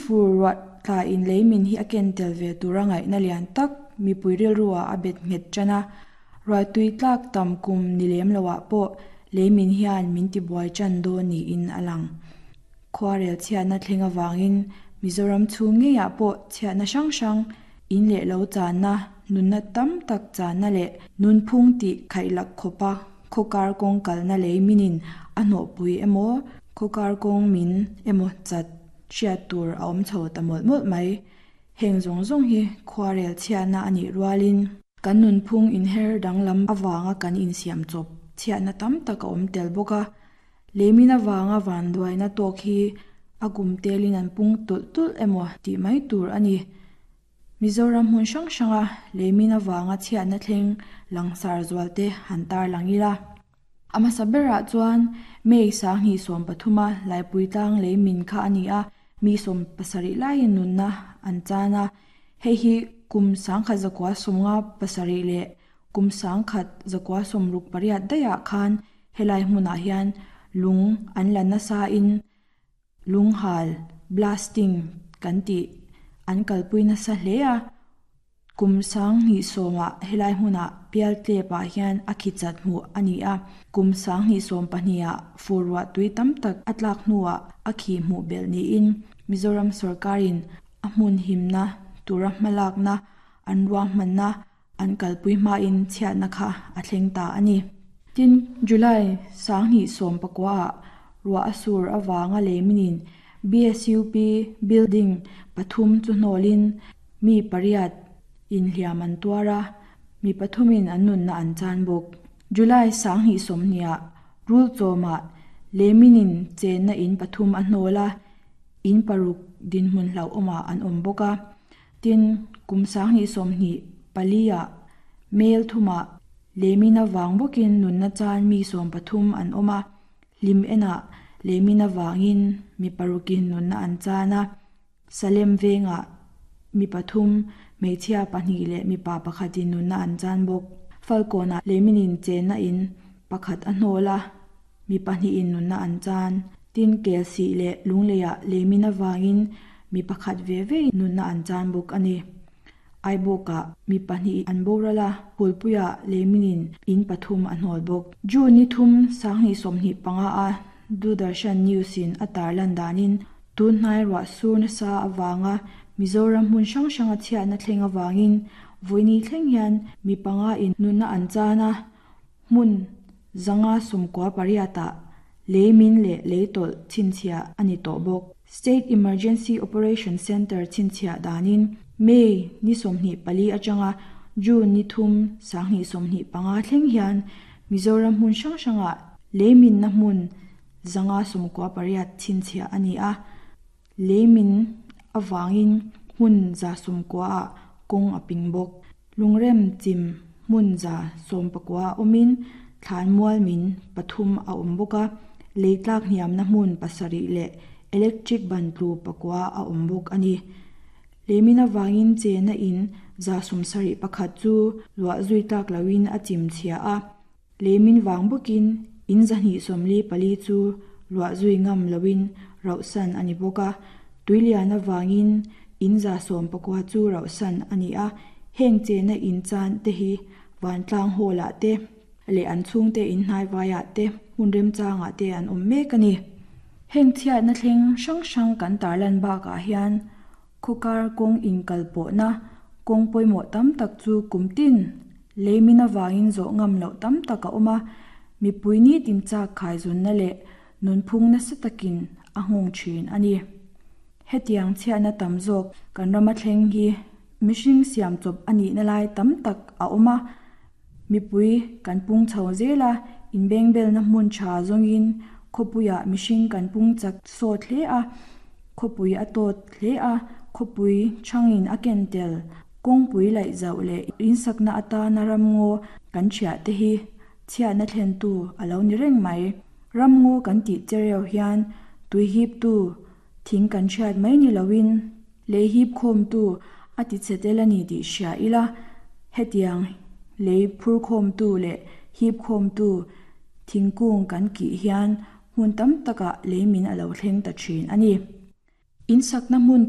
fur ruah tla in leimin hi a ken tel ve tura ngaihna lian tak mipui rilru ah a bet nghet tan a. Ruahtui tlak tam kum ni lem lo ah pawh leimin hian min tibuai tan dawn niin a lang. Khuarel chhiatna thleng avangin Mizoram chhung ngeiah pawh chhiatna hrang hrang, in leh lo channa, nunna tam tak channa leh nunphung tih khaihlak khawpa khawkar kawng kalna lei minin a hnawhpui emaw, khawkar kawng min emaw chat hriat tur a awm chho ta mawlh mawlh mai. Heng zawng zawng hi khuarel chhiatna a nih rualin kan nunphung inher danglam avanga kan insiam chawp chhiatna tam tak a awm tel bawk a. Leimin avanga vanduaina tawk hi a kum telin an pung tulh tulh emaw tih mai tur a ni. Mizoram hmun hrang hranga leimin avanga chhiatna thleng langsar zualte han tarlang ila. A hmasa berah chuan May 2013 a Laipuitlang leimin kha a ni a, mi 70 laiin nunna an chan a. Hei hi kum 1957 leh kum 1968 daihah khan Helai hmunah hian lung an la nasa in lunghal, blasting, kan tih an kalpui nasa hle a. Kum 2010 ah helai hmunah Pialtlep ah hian a khi chat hmuh a ni a. Kum 2012 ah fur ruah tui tam tak a tlak hnuah a khi hmuh belh niin Mizoram sawrkarin a hmun himna tura hmalakna an ruahmanna An kalpui hmain chhiatna kha a thleng ta a ni. Tin, July 2019 ah ruah a sur avanga leiminin BSUP building pathum chu hnawlin mi pariat inhliam an tuar a, mi pathumin an nunna an chan bawk. July 2020 ah Rulchawmah leiminin chenna in pathum a hnawl a, in paruk dinhmun hlauhawmah an awm bawk a. Tin, kum 2024 ah Mel thumah leimin avang bawkin nunna chan mi 13 an awm a, hlim enah leimin avangin mi parukin nunna an chan a, Salem vengah mi pathum, hmeichhia pahnih leh mipa pakhatin nunna an chan bawk. Falkawnah leiminin chenna in pakhat a hnawl a, mi pahnihin nunna an chan. Tin, Kelsih leh Lungleiah leimin avangin mi pakhat ve ve nunna an chan bawk a ni. Aibawkah mi pahnih an boral a, Phulpuiah leiminin in pathum a hnawl bawk. June ni thum 2025 a Doordarshan News-in a tarlan danin tun hnai ruah sur nasa avanga Mizoram hmun hrang hranga chhiatna thleng avangin vawiini thleng hian mi panga in nunna an chan a, Hmun 598 ah lei min leh lei tawlh chhinchhiah a ni tawh bawk. State Emergency Operation Centre chhinchhiah danin May ni 24 atanga June ni thum 2025 thleng hian Mizoram hmun hrang hrangah lei minna hmun 598 chhinchhiah a ni a. Lei min avangin hmun 90 ah kawng a ping bawk. Lungrem chim hmun 19 awmin thlanmual min pathum a awm bawk a, lei tlak hniamna hmun pasarih leh electric ban tlu pakua a awm bawk a ni. Lei min avangin chena in 71 chu luah zui tlak loin a chim chhia a. Lei min vang bawkin in 244 chu luah zui ngam loin rauhsan a ni bawk a, tuilian avangin in 19 chu rauhsan a ni a, heng chena in chan te hi vantlang hall ah te leh an chhungte in hnaivaiah te hmun remchangah te an awm mek a ni. Heng chhiatna thleng hrang hrang kan tarlan bakah hian Khawkar kawng inkalpawhna kawng pawimawh tam tak chu kum tin leimin avangin zawh ngam loh tam tak a awm a, mipui nitin chak khaizawnna leh nunphung nasa takin a nghawng thin a ni. Hetiang chhiatna tam zawk kan rama thleng hi mihring siam chawp a nihna lai tam tak a awm a, mipui kan pung chho zel a, inbengbelna hmun tha zawngin khawpuiah mihring kan pung chak sawt hle a, Khawpui a tawt hle a, khawpui chhangin a ken tel. Kawngpui laih zauh leh insakna atana ramngaw kan thiah te hi chhiatna thlentu a lo ni reng mai. Ramngaw kan tih chereu hian tui hiptu thing kan thiat mai ni loin lei hip khawmtu a ti chhe tel a ni tih hria ila, hetiang lei phur khawmtu leh hip khawmtu thingkung kan kih hian Hmun tam takah leimin a lo thleng ta thin a ni. Insakna hmun.